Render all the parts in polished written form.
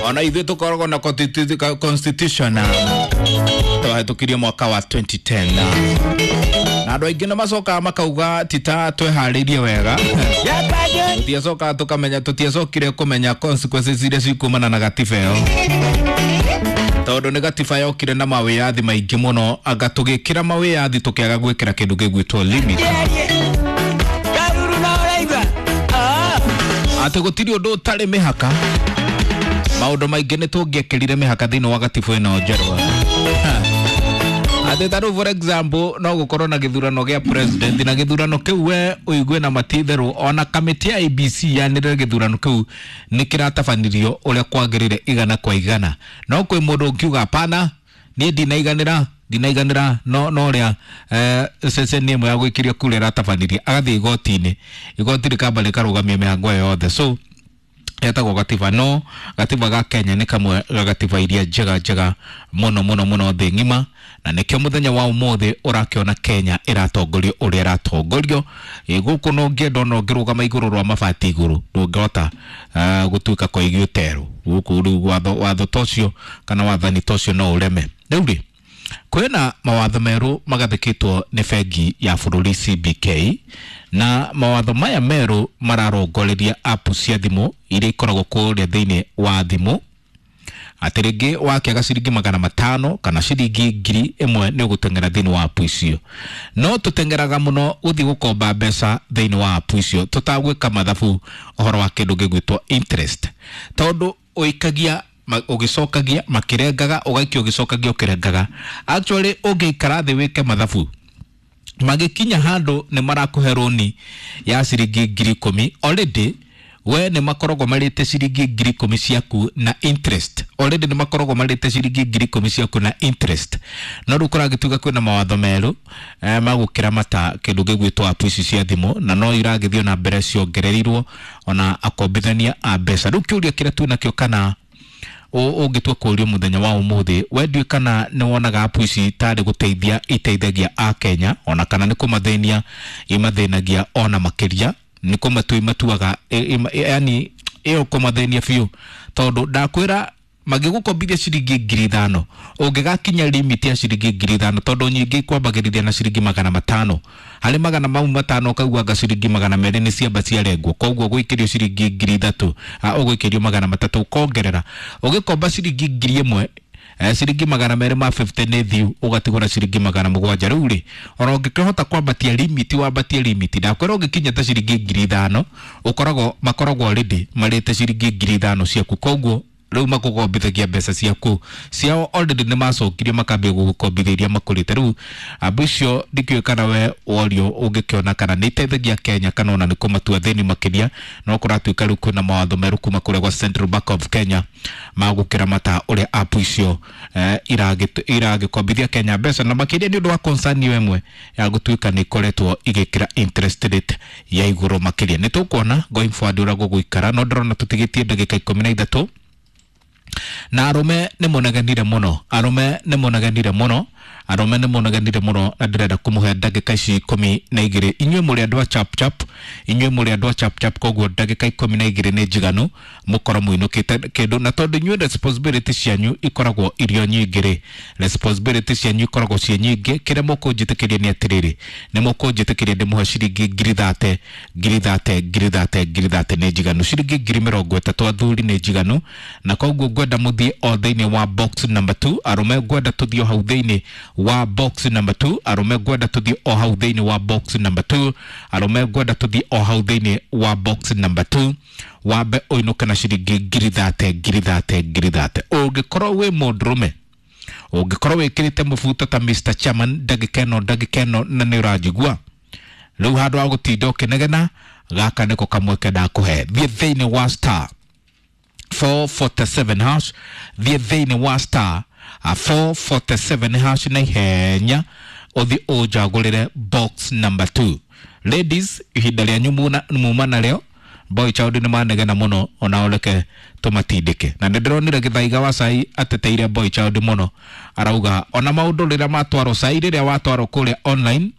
Ona ithuĩ tũkoragwo na constitution twahĩtũkirie mwaka wa 2010, na andũ aingĩ nĩ macokaga makauga tita tweharĩirie wega, tũtiacokaga tũkamenya, tũtiacokire kũmenya consequences iria cikumana na gatiba ĩyo, tondũ nĩ gatiba yokire na mawĩyathi maingĩ mũno, anga tũgĩkĩra mawĩyathi tũkĩaga gwĩkĩra kĩndũ gĩgwĩtwo limit, atĩ gũtirĩ ũndũ ũtarĩ mĩhaka. Maũndũ maingĩ nĩ tũngĩekĩrire mĩhaka thĩinĩ wa gatiba ĩno njerũ, atĩ ta rĩu, for example, no gũkorwo na gĩthurano gĩa president, na gĩthurano kĩu we ũigue na matitherũ ona kamĩtĩ ya IEBC yanĩrĩre gĩthurano kĩu nĩ kĩratabanirio ũrĩa kwagĩrĩire igana kwa igana, no kwĩ mũndũ ũngiuga, "Hapana, niĩ ndinaiganĩra, ndinaiganĩra no ũrĩa ceceni ĩmwe ya gũikĩria kura ĩratabanirie," agathiĩ igoti-inĩ, igoti rĩkamba rĩkarũgamia mĩhango ĩyo yothe. So etagwo gatiba, no gatiba ga Kenya nĩ kamwe ga gatiba iria njega njega mũno mũno mũno thĩ ng'ima, na nĩkĩo mũthenya wa ũmũthĩ ũrakĩona Kenya ĩratongorio ũrĩa ĩratongorio. Ĩ gũkũ no ũngĩenda ona ũngĩrũgama igũrũ rwa mabati igũrũ, ndũngĩhota gũtuĩka koigi ũterũ gũkũ. Rĩu watho ta ũcio kana wathani ta ũcio no ũreme. Rĩu rĩ, kwĩna mawatho merũ magathĩkĩtwo nĩ bengi ya bũrũri CBK, na mawatho maya merũ mararongoreria app cia thimũ iria ikoragwo kũrĩa thĩinĩ wa thimũ, atĩ rĩngĩ wakĩaga ciringi 500 kana ciringi 1000 nĩ ũgũteng'era thĩinĩ wa app icio. No tũteng'eraga mũno gũthiĩ gũkomba mbeca thĩinĩ wa app icio tũtagwĩka mathabu ũhoro wa kĩndũ gĩgwĩtwo interest, tondũ ũikagia ũgĩcokagia makĩrengaga, ũgaikia ũgĩcokagia ũkĩrengaga. Actually, ũngĩikara thĩ wĩke mathabu, magĩkinya handũ nĩ marakũhe rũni ya ciringi 10,000, already we nĩ makoragwo marĩte ciringi 10,000 ciaku na interest, already nĩ makoragwo marĩte ciringi 10,000 ciaku na interest. No rĩu kũragĩtuĩka kwĩna mawatho merũ magũkĩramata kĩndũ gĩgwĩtwo app ici cia thimũ, na no iragĩthiĩ na mbere ciongereirwo ona akombithania a mbeca. Rĩu kĩũria kĩrĩa twĩnakĩo kana ũngĩtua kũũrio mũthenya wa ũmũthĩ, we ndiũĩ kana nĩ wonaga app ici tarĩ gũteithia iteithagia a Kenya, ona kana nĩ kũmathĩnia imathĩnagia ona makĩria, nĩ kũmatua imatuaga, yani ĩyo kũmathĩnia biũ, tondũ ndakwĩra magĩgũkombithia ciringi 5,000, ũngĩgakinya limit ya ciringi 5,000, tondũ nyingĩ ikwambagĩrĩria na ciringi 500, harĩ magana mau matano ũkaigua anga ciringi 200 nĩ ciamba ciarengwo, koguo ũgũikĩrio ciringi 3,000, ũgũikĩrio 300, ũkongerera ũgĩkomba ciringi 1,000, ciringi 250 nĩ thiu, ũgatigwo na ciringi 700. Rĩu rĩ, ona ũngĩkĩhota kwambatia limit, wambatie limit, ndakwĩra ũngĩkinya ta ciringi 5,000, ũkoragwo makoragwo already marĩte ciringi 5,000 ciaku, koguo rĩu makũgombithagia mbeca ciaku ciao already nĩ macokirie makambia gũgũkombithia iria makũrĩte. Rĩu ambu icio ndikĩũĩ kana we worio ũngĩkĩona kana nĩ iteithagia Kenya kana ona nĩ kũmatua thĩni makĩria. No kũratuĩka rĩu kwĩna mawatho merũ kuma kũrĩa gwa Central Bank of Kenya magũkĩramata ũrĩa app icio iragĩkombithia Kenya mbeca, na makĩria nĩ ũndũ wa concern ĩyo ĩmwe ya gũtuĩka nĩ ikoretwo igĩkĩra interest rate ya igũrũ makĩria. Nĩ tũkuona going forward ũrĩa gũgũikara, no ndĩrona tũtigĩtie ndagĩka 13, na arũme nĩ mũnegenire mũno, arũme nĩ mũnegenire mũno, arũme nĩ mũnegenire mũno, na ndĩrenda kũmũhe ndagĩka ici 12. Inyuĩ mũrĩ andũ a chap chap, inyuĩ mũrĩ andũ a chap chap, koguo ndagĩka 12 nĩ njiganu mũkorwo mũinũkĩte kĩndũ. Na tondũ inyuĩ responsibility cianyu ikoragwo irio nyingĩ rĩ, responsibility cianyu ikoragwo ciĩ nyingĩ, kĩrĩa mũkũnjĩtĩkĩria nĩ atĩrĩrĩ, nĩ mũkũnjĩtĩkĩria ndĩmũhe ciringi 30,000, 30,000, 30,000, 30,000 nĩ njiganu, ciringi 30,000 athuri nĩ njiganu. Na koguo ngwenda mũthiĩ o thĩinĩ wa box number 2. Arũme, ngwenda tũthiĩ o hau thĩinĩ wa box number 2. Arũme, ngwenda tũthiĩ o hau thĩinĩ wa box number 2. Arũme, ngwenda tũthiĩ o hau thĩinĩ wa box number 2, wambe ũinũke na ciringi 30,000, 30,000, 30,000. Ũngĩkorwo wĩ mũndũrũme, ũngĩkorwo wĩkĩrĩte mũbuto ta Mr Chairman ndagĩka ĩno, ndagĩka ĩno, na nĩ ũranjigua rĩu, handũ ha gũtinda ũkĩnegena, gaka nĩko kamweke ndakũhe. Thiĩ thĩinĩ wa star 447 hash, thiĩ thĩinĩ wa star 447 hash na ihenya ũthiĩ ũnjagũrĩre box number 2. Ladies, ihinda rĩanyu muma narĩo. Boy child nĩ manegena mũno, ona reke tũmatindĩke, na nĩ ndĩronire Gĩthaiga wa cai ateteire boy child mũno, arauga ona maũndũ rĩrĩa matwarwo cai, rĩrĩa watwarwo kũrĩa online,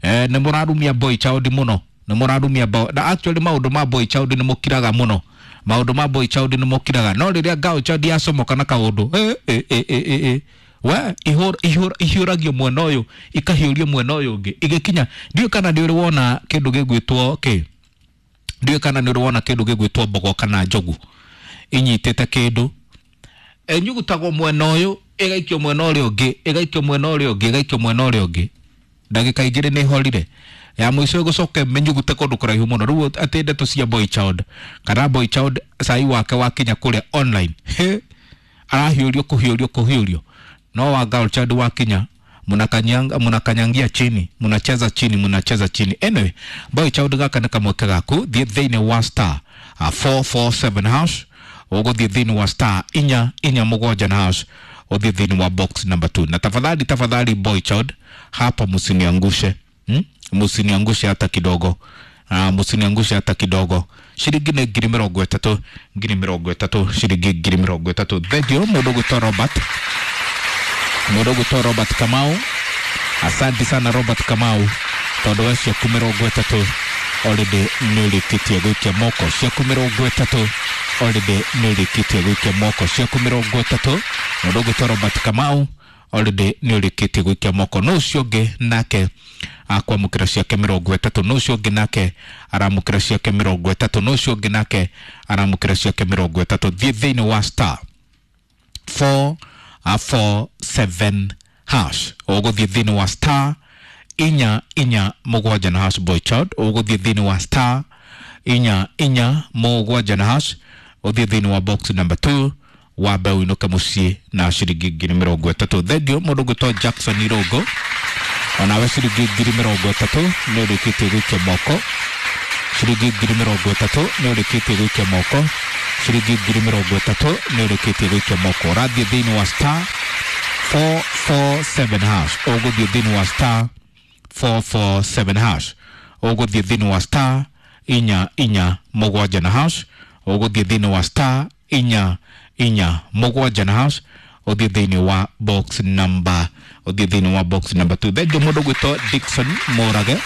nĩ mũrarumia boy child mũno, nĩ mũrarumia na actually maũndũ ma boy child nĩ mũkiraga mũno. Maũndũ ma boy child nĩ mokiraga, no rĩrĩa girl child yacomoka na kaũndũ, we ihiũragio mwena ũyũ, ikahiũrio mwena ũyũ ũngĩ igĩkinya. Ndiũĩ kana nĩ ũrĩ wona kĩndũ gĩgwĩtwo kĩ, ndiũĩ kana nĩ ũrĩ wona kĩndũ gĩgwĩtwo mbogo kana njogu inyitĩte kĩndũ, ĩnyugutagwo mwena ũyũ, ĩgaikio mwena ũrĩa ũngĩ, ĩgaikio mwena ũrĩa ũngĩ, ĩgaikio mwena ũrĩa ũngĩ, ndagĩka igĩrĩ nĩ ĩhorire, ya mũico ĩgũcoka ĩmĩnyugute kũndũ kũraihu mũno. Rĩu atĩ ndeto cia boy child kana boy child cai wake wakinya kũrĩa online, he arahiũrio kũhiũrio kũhiũrio, no wa girl child wakinya munakanyangia chini, munacheza chini, munacheza chini. Anyway, boy child gaka nĩ kamweke gaku. Thiĩ thĩinĩ wa star 447 hash, ũgũthiĩ thĩinĩ wa star 447 na hash, ũthiĩ thĩinĩ wa box number 2. Na tafadhali tafadhali, boy child, hapa msiniangushe, Msiniangushe hata kidogo. Msiniangushe hata kidogo. Shilingi nĩ 30,000, 30,000, shilingi 30,000. Thank you mũndũ gwĩtwo Robert, mũndũ gwĩtwo Robert Kamau. Asante sana Robert Kamau, tondũ we ciaku 30 already nĩ ũrĩkĩtie gũikia moko. Ciaku 30 already nĩ ũrĩkĩtie gũikia moko. Ciaku 30, mũndũ gwĩtwo Robert Kamau already nĩ ũrĩkĩtie gũikia moko. No ũcio ũngĩ nake akwamũkĩra ciake 30, no ũcio ũngĩ nake aramũkĩra ciake 30, no ũcio ũngĩ nake aramũkĩra ciake 30. Thiĩ thĩinĩ wa star 447 hash, ũgũthiĩ thĩinĩ wa star 447 na hash, boy child. Ũgũthiĩ thĩinĩ wa star 447 na hash, ũthiĩ thĩinĩ wa box number 2, wambe ũinũke mũciĩ na ciringi 30,000. Thengiũ mũndũ ũgwĩtwo Jackson Irũngũ, onawe ciringi 30,000 nĩ ũrĩkĩtie gũikia moko. Ciringi 30,000 nĩ ũrĩkĩtie gũikia moko. Ciringi 30,000 nĩ ũrĩkĩtie gũikia moko. Ũrathiĩ thĩinĩ wa star 447 hash, ũgũthiĩ thĩinĩ wa star 447 hash, ũgũthiĩ thĩinĩ wa star 447 na hash, ũgũthiĩ thĩinĩ wa star 447 na hash, ũthiĩ thĩinĩ wa box number, ũthiĩ thĩinĩ wa box number 2. Thengiũ mũndũ gwĩtwo Dickson Mũrage,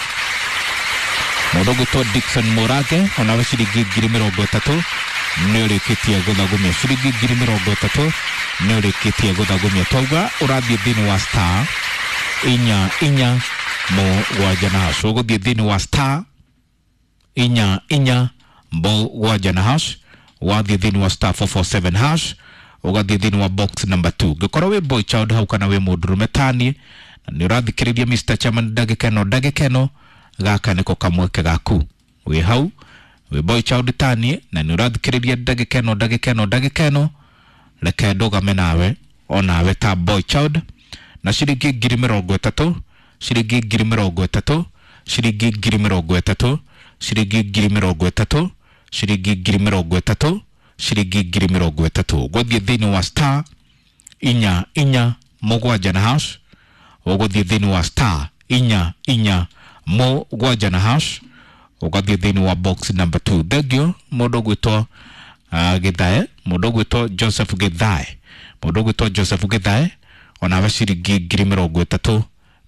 mũndũ gwĩtwo Dickson Mũrage, onawe ciringi 30,000 nĩ ũrĩkĩtie gũthagũmia. Ciringi 30,000 nĩ ũrĩkĩtie gũthagũmia. Twauga ũrathiĩ thĩinĩ wa star 447 na hash, ũgũthiĩ thĩinĩ wa star 447 na hash, wathiĩ thĩinĩ wa star 447 hash, ũgathiĩ thĩinĩ wa box number 2. Ngĩkorwo wĩ boy child hau kana wĩ mũndũrũme taniĩ na nĩ ũrathikĩrĩria Mr. Chairman ndagĩka ĩno, ndagĩka ĩno gaka nĩko kamweke gaku. Wĩ hau wĩ boy child taniĩ na nĩ ũrathikĩrĩria ndagĩka ĩno, ndagĩka ĩno, ndagĩka ĩno, reke ndũgame nawe onawe ta boy child na ciringi 30,000, ciringi 30,000, ciringi 30,000, ciringi 30,000, ciringi 30,000, ciringi 30,000. Ũgũthiĩ thĩinĩ wa star 447 na hash, ũgũthiĩ thĩinĩ wa star 447 na hash, ũgathiĩ thĩinĩ wa box number 2. Thengiũ mũndũ ũgwĩtwo Githae, mũndũ ũgwĩtwo Joseph Githae, mũndũ ũgwĩtwo Joseph Githae, onawe ciringi 30,000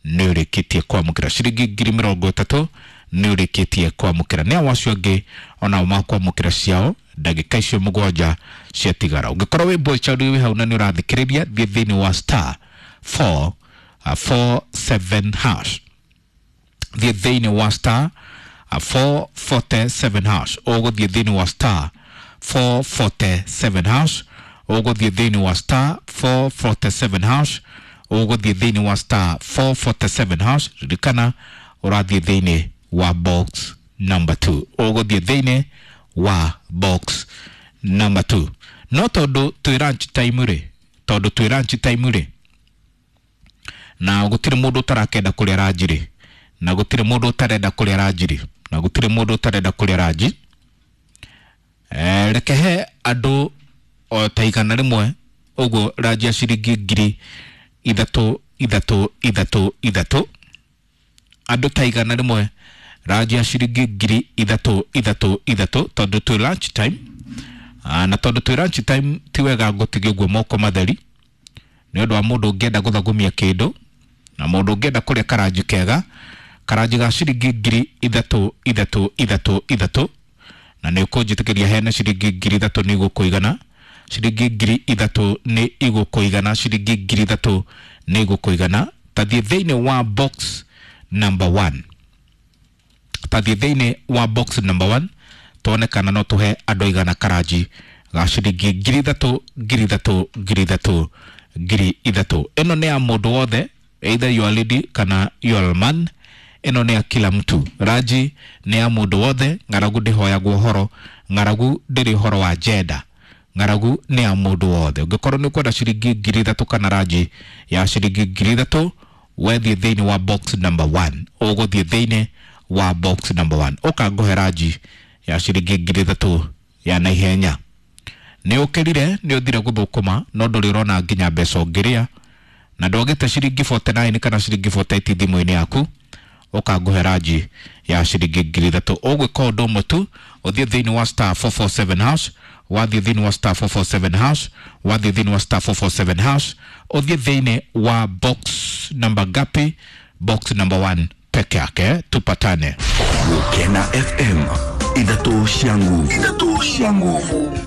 nĩ ũrĩkĩtie kwamũkĩra. Ciringi 30,000 nĩ ũrĩkĩtie kwamũkĩra. Nĩ ao acio angĩ onao makwamũkĩra ciao ndagĩka icio 7 ciatigara. Ũngĩkorwo wĩ boy child wĩ hau na nĩ ũrathikĩrĩria, thiĩ thĩinĩ wa star 447 hash, thiĩ thĩinĩ wa star 447 hash, ũgũthiĩ thĩinĩ wa star 447 hash, ũgũthiĩ thĩinĩ wa star 447 hash, ũgũthiĩ thĩinĩ wa star 447 hash. Ririkana ũrathiĩ thĩinĩ wa box number 2, ũgũthiĩ thĩinĩ wa box number 2. No tondũ twĩ lunch time rĩ, tondũ twĩ lunch time rĩ, na gũtirĩ mũndũ ũtarakenda kũrĩa ranji rĩ, na gũtirĩ mũndũ ũtarenda kũrĩa ranji rĩ, na gũtirĩ mũndũ ũtarenda kũrĩa ranji, reke he andũ o ta 100 ũguo ranji ya ciringi 3,000 3 3 3, andũ ta 100 ranji ya ciringi 3,000 3 3, tondũ twĩ lunch time. Na tondũ twĩ lunch time ti wega ngũtigie ũguo moko matheri, nĩ ũndũ wa mũndũ ũngĩenda gũthagũmia kĩndũ na mũndũ ũngĩenda kũrĩa karanji kega, karanji ga ciringi 3,000 3 3 3, Na nĩ ũkũnjĩtĩkĩria heane ciringi 3,000 nĩ igũkũigana. Ciringi 3,000 nĩ igũkũigana. Ciringi 3,000 nĩ igũkũigana. Tathiĩ thĩinĩ wa box number 1. Tathiĩ thĩinĩ wa box number 1 tuone kana no tuhe andũ aigana karanji ga ciringi 3,000 3,000 3,000 3,000. Ĩno nĩ ya mũndũ wothe, either you are lady kana you are man. Ĩno nĩ ya kila mtu. Ranji nĩ ya mũndũ wothe. Ng'aragu ndĩhoyagwo ũhoro, ng'aragu ndĩrĩ ũhoro wa gender. Ng'aragu nĩ ya mũndũ wothe. Ũngĩkorwo nĩ ũkwenda ciringi 3,000 kana ranji ya ciringi 3,000, wethiĩ thĩinĩ wa box number 1. Ũgũthiĩ thĩinĩ wa box number 1 ũkangũhe ranji ya ciringi 3,000 ya naihenya. Nĩ ũkĩrire, nĩ ũthire gũthũkũma, no ndũrĩ ũrona nginya mbeca ũngĩrĩa, na ndwagĩte ciringi 49 kana ciringi 48 thimũ-inĩ yaku, ũkangũhe ranji ya ciringi 3,000. Ũgwĩka ũndũ ũmwe tu, ũthiĩ thĩinĩ wa star 447 hash, wathiĩ thĩinĩ wa star 447 hash, wathiĩ thĩinĩ wa star 447 hash, ũthiĩ thĩinĩ wa box number gapi, box number 1 peke yake. Tupatane Gukena FM, ithatũ cia nguvu, ithatũ cia nguvu.